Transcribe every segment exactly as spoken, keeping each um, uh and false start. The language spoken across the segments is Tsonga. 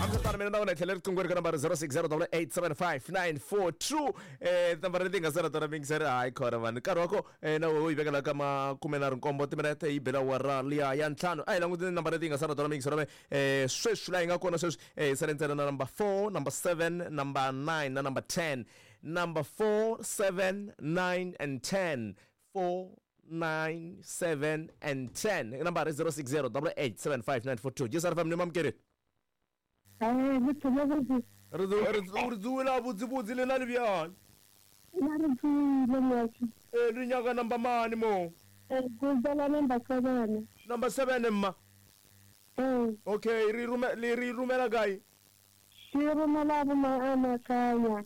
Hambiswiritano mina na wena hi tlhela riqingho ri ka nambara zero six zero double eight seven five nine four two eh tinambara leti nga sala tona mingiseri hayi khona vanhu nkarhi wa ko eh, na wo yi vekela ka makume nharhu nkombo timinete yi bela awara liya ya ntlhanu a hi languteni nambara leti nga sala tona mingiseri me eh sweswi laha yi nga kona sweswi eh hi sale ntsena na number four number seven number nine na number ten number four seven nine and ten four nine seven and ten nambara zero six zero double eight seven five nine four two J S R F M ni mamukeri. Eh, botho. Re re dzuwela botsebotse le na le bjang? Na re tsoile motho. Eh, le nyaka number mane mo? Eh, go bala number seven. Number seven mma? Eh. Okay, re rume le re romela kae? Ke romela bo Maanakanya,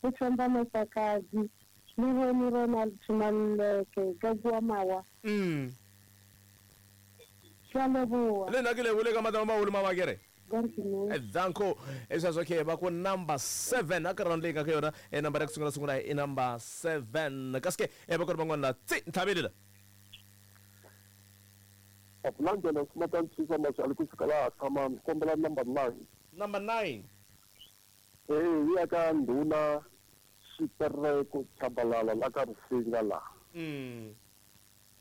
go tshwamba Masakazi, le bone Ronald Maleke ka kua Mawa. Mm ke a leboa. Le nna ke lebole ka matama maholo mabakere. Continue. Danko sweswo ke va ku number seven a ka round leyi nga ka yona e number ya ku sungula sungula i number seven kasi ke e va ku ri van'wana la tsi ntlhaveli la. Apulandela sima mashali kusuka laha tshama ni kombela number nine. Number nine. Eh, yi ya ka ndhuna Xitereko Chabalala la ka Risinga laha. mm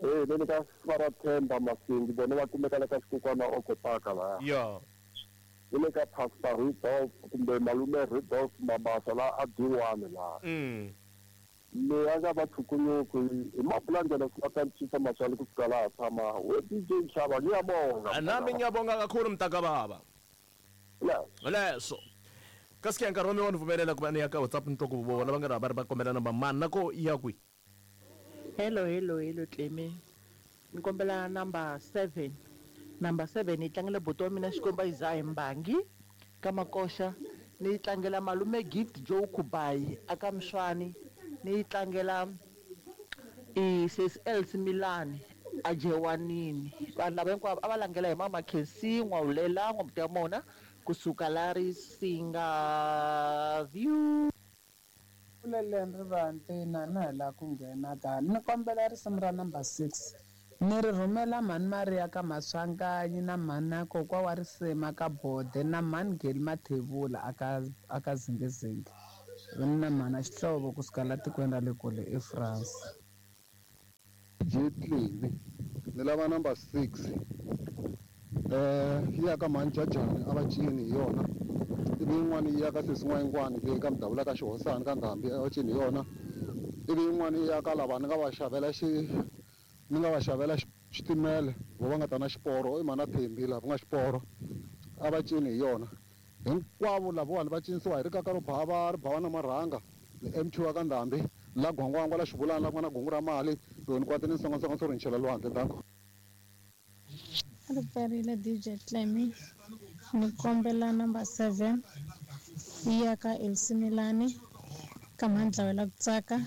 Eh, le ka Svara Themba Masingi vona va kumeka la ka Xikukwana Okopaka laha. Ya. Ni le ka Pastor Rudolph kumbe malume Rudolph Mabasa la a D one laha. mm Leyi a nga va tshukunyuku hi mapulandela sima mashali kusuka laha tshama we D J Nxava ngiyabonga. Nami ngiyabonga kakhulu mntakababa. Yes. Leso kasi ke nkarhi wa mi wa ni pfumelela ku va ni ya ka WhatsApp ni twa ku vona va nga ri va ri va kombela number mani na ko ya kwi. Hello, hello, hello, Cleme. Ni kombela number seven. Number seven yi tlangela buti wa mina Xikwembu Isaiah Mbangi ka Makoxa. Ni yi tlangela malume Gift Joe Kubayi aka Mswani. Ni yi tlangela i Sis Else Milani a Jewanini. Vanhu lava hinkwavo a va langela hi mama Khensi N'wawulela N'wamuti wa mona kusuka la Risinga View. Kuleleni rivanti na na hi laha ku nghena ka ni kombela risimu ra number six ni ri rhumela mhani Maria ka Maswanganyi na mhani na kokwa wa risima ka Bode na mhani Geli Mathebula aka aka Zingizingi na mhana Xihlovo kusuka la tikweni ra le kule eFrance. Jetlini ni lava number six eh yi ya ka mhani Jajani a va cini hi yona ivi yin'wana yi ya ka sesi N'wayingwani leyi ka Mudavula ka Xihosana ka Ndhambi a va cini hi yona ivi yin'wana yi ya ka lava ni nga va xavela xi ni nga va xavela xitimela vo va nga ta na xiporo i mhana Thembi laha ku nga xiporo a va cini hi yona hinkwavo lavawani va cinisiwa hi rikaka ro bava ri bava na marhanga ni M two wa ka Ndhambi la gwangwangwa la xivulana la ku nga na gungu ra mali loko ni kwate ni nsongansonga swo ri ni chela lwandle danko. Ri pferile D J Clemy ni kombela number seven yi ya ka Elsie Milani ka Mhandlawela ku tsaka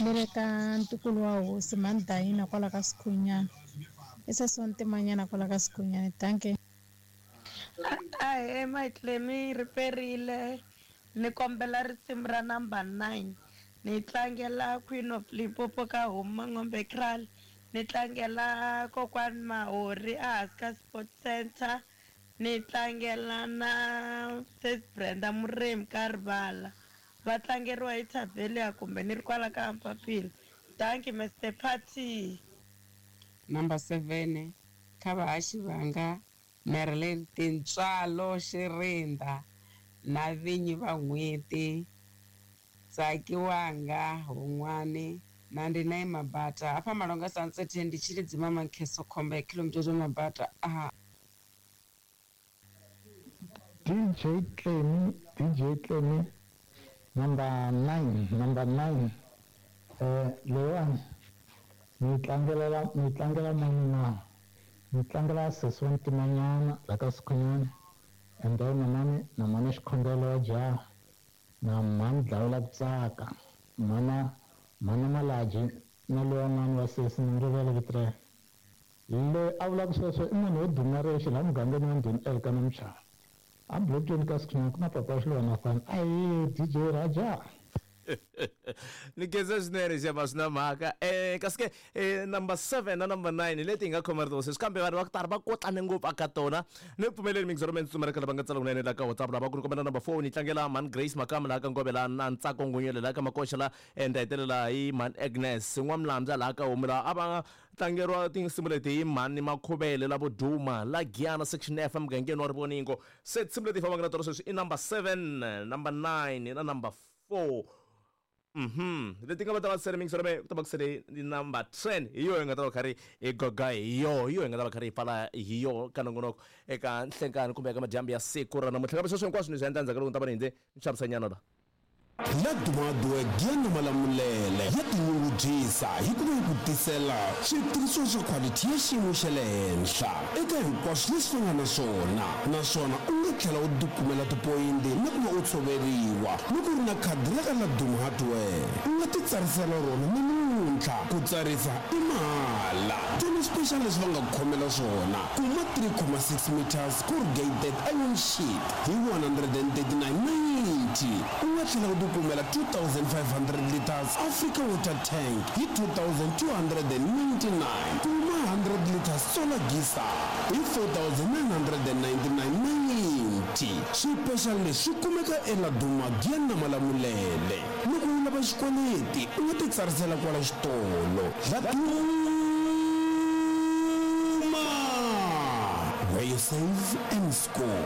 ni le ka ntukulu wa hosi Mhani Dayina kwala ka Sikhunyana i sesi wa Ntimanyana kwala ka Sikhunyana dankie. Ahee my Clemy ri perile ni kombela risimu ra number nine ni tlangela Queen of Limpopo ka Homu Mangombe Kraal ni tlangela kokwani Mahori ehansi ka Sport Center ni tlangela na Sis Brenda Murimi ka Rivala va tlangeriwa hi Thabelia kumbe ni ri kwala ka Mpapila thank you Mister Party. Number seven kha vahaxi vanga Marilyn Tintswalo Xirinda na vinyi va n'hweti Tsakiwanga Hun'wani na ndi na Mabata hafha Malonga Sunset ndi Tshilidzi Mama Nkheso khomba ya Khilomutete Mabata a. D J Clemy, D J Clemy, number nine, number nine. Eh, leyiwani ni tlangela ni tlangela mani na ni tlangela sesi wa Ntimanyana la ka Sikhunyana and then na mani na mani Xikhongelo wa jaha na mhani Dlawula ku tsaka mhana mhana Malaji na lowa n'wana wa sesi ni rivele vito ra yena loyi a vulaka sweswo i munhu wo duma rexe laha mugangeni wa Ndhuni Elka na Muchava a bulotweni ka Sikhunyana ku na papa Xiluva Nathan ayi D J Raja. Ni khensa swinene xiyama swi na mhaka. Eh kasi ke eh, number seven na number nine leti hi nga khoma rito sweswi, kambe vanhu va ku tala va kotlane ngopfu aka tona. Ni pfumeleli mingizoro me ntsumela ka lava nga tsala kunene la ka WhatsApp lava ku ni kombela number four ni tlangela Man Grace Makama laha ka Ngove laha na Ntsako Ngunyele laha ka Makoxa laha and hetelela hi Man Agnes N'wamulambya laha ka Homu laha a va tlangeriwa tinsimu leti hi Mhani Makhuvele la Voduma la Giyana section F emugangeni wa Rivoningo. Se tinsimu leti hi fambaka na tona sweswi i number seven, number nine na number four. Mhm. Leti nga va ta va sele mingisoro me ku ta va ku sele ni number ten hi yo hi nga ta va karhi hi goga hi yo hi yo hi nga ta va karhi hi pfala hi yo ka nongonoko eka nhlenkani kumbe eka madyambu ya siku ra namuntlha. Kambe sweswo hinkwaswo ni swi endla endzhaku ka loko ni ta va ni hindze ni xavisanyana la. Ladumadu Giyani Malamulele ya tinyungubyisa hi ku va yi ku tisela switirhisiwa swa quality ya xiyimo xa le henhla eka hinkwaswo leswi va nga na swona, naswona u nga tlhela u tikumela tipoyinti na ku va u tshoveriwa loko u ri na khadi ra ka Laduma Hardware. U nga ti tsarisela rona namuntlha, ku tsarisa i mahala. Tona special leswi va nga ku khomela swona, kuma three comma six meters corrugated iron sheet hi one hundred and thirty-nine ninety. U nga tlhela u tikumela two thousand five hundred liters Africa water tank hi two thousand two hundred and ninety-nine. Kuma hundred liters solar geyser hi four thousand nine hundred and ninety-nine ninety. Swipexal leswi kumeka eLaduma Giyani na Malamulele. Loko u lava xikweleti u nga ti tsarisela kwala xitolo. Laduma, where you save and score.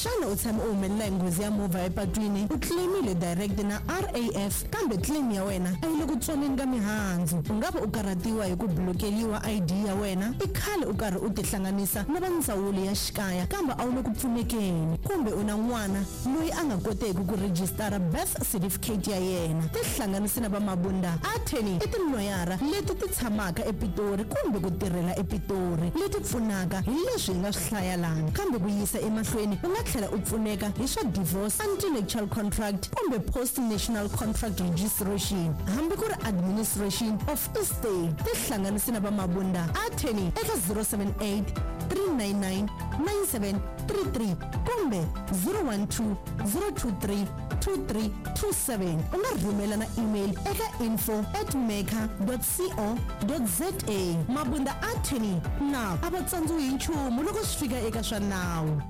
Xana u tshame u humelela hi nghozi ya movha epatwini, u claimile direct na R A F kambe claim ya wena a yi le ku tsoneni ka mihandzu? U nga va u karhatiwa hi ku blokeliwa I D ya wena, i khale u karhi u tihlanganisa na va ndzawulo ya xikaya kambe a wu le ku pfunekeni, kumbe u na n'wana loyi a nga koteki ku rejistara birth certificate ya yena. Tihlanganisi na va Mabunda Attorney i tiloyara leti ti tshamaka ePitori kumbe ku tirhela ePitori, leti pfunaka hi leswi hi nga swi hlaya lana. Kambe ku yisa emahlweni u nga tlhela u pfuneka hi swa divorce, anti-nuptial contract kumbe post-national contract registration, hambi ku ri administration of estate. Tihlanganisi na va Mabunda Attorney eka zero seven eight three nine nine nine seven three three kumbe zero one two zero two three two three two seven. U nga rhumela na email eka info at maker dot co dot za. Mabunda Attorney na a va tsandziwi hi nchumu loko swi fika eka swa nawu.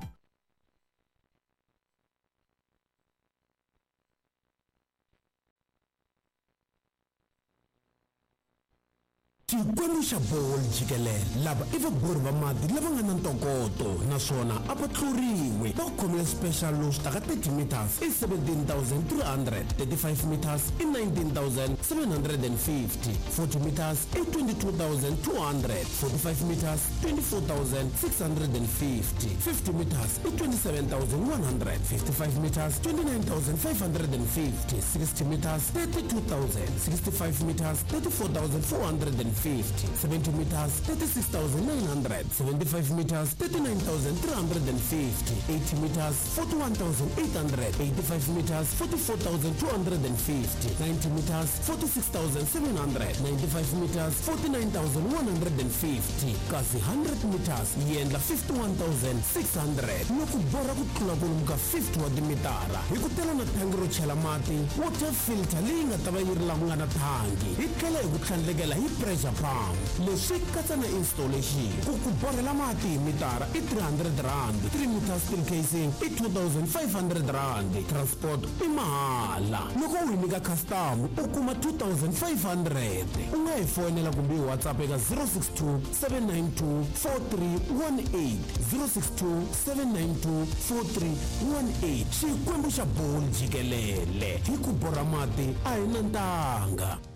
Xikwembu xa bolo jikelele lava i vabori va mati lava nga na ntokoto naswona a va tluriwi. Va khomile special lowu swi taka thirty meters i seventeen thousand three hundred, thirty-five meters i nineteen thousand seven hundred and fifty, forty meters i twenty-two thousand two hundred, forty-five meters twenty-four thousand six hundred and fifty, fifty meters i twenty-seven thousand one hundred, fifty-five meters twenty-nine thousand five hundred and fifty, sixty meters thirty-two thousand, sixty-five meters thirty-four thousand four hundred and fifty, seventy meters thirty-six thousand nine hundred, seventy-five meters thirty-nine thousand three hundred and fifty, eighty meters forty-one thousand eight hundred, eighty-five meters forty-four thousand two hundred and fifty, ninety meters forty-six thousand seven hundred, ninety-five meters forty-nine thousand one hundred and fifty, kasi hundred meters yi endla fifty-one thousand six hundred. Loko borha ku tlula kwalomu ka fifty wa timitara hi ku tela na thangi ro chela mati, water filter leyi nga ta va yi ri laha ku nga na thangi, hi tlhela hi ku tlhandlekela hi pressure pump. Leswi katsa na installation. Ku ku borhela mati hi mitara i three hundred rand, three meters steel casing i two thousand five hundred rand, transport i mahala. Loko u hi nyika custom u kuma two thousand five hundred. U nga hi foyinela kumbe hi WhatsApp eka zero six two seven nine two four three one eight, zero six two seven nine two four three one eight. Xikwembu xa bolo jikelele hi ku borha mati a hi na ntanga.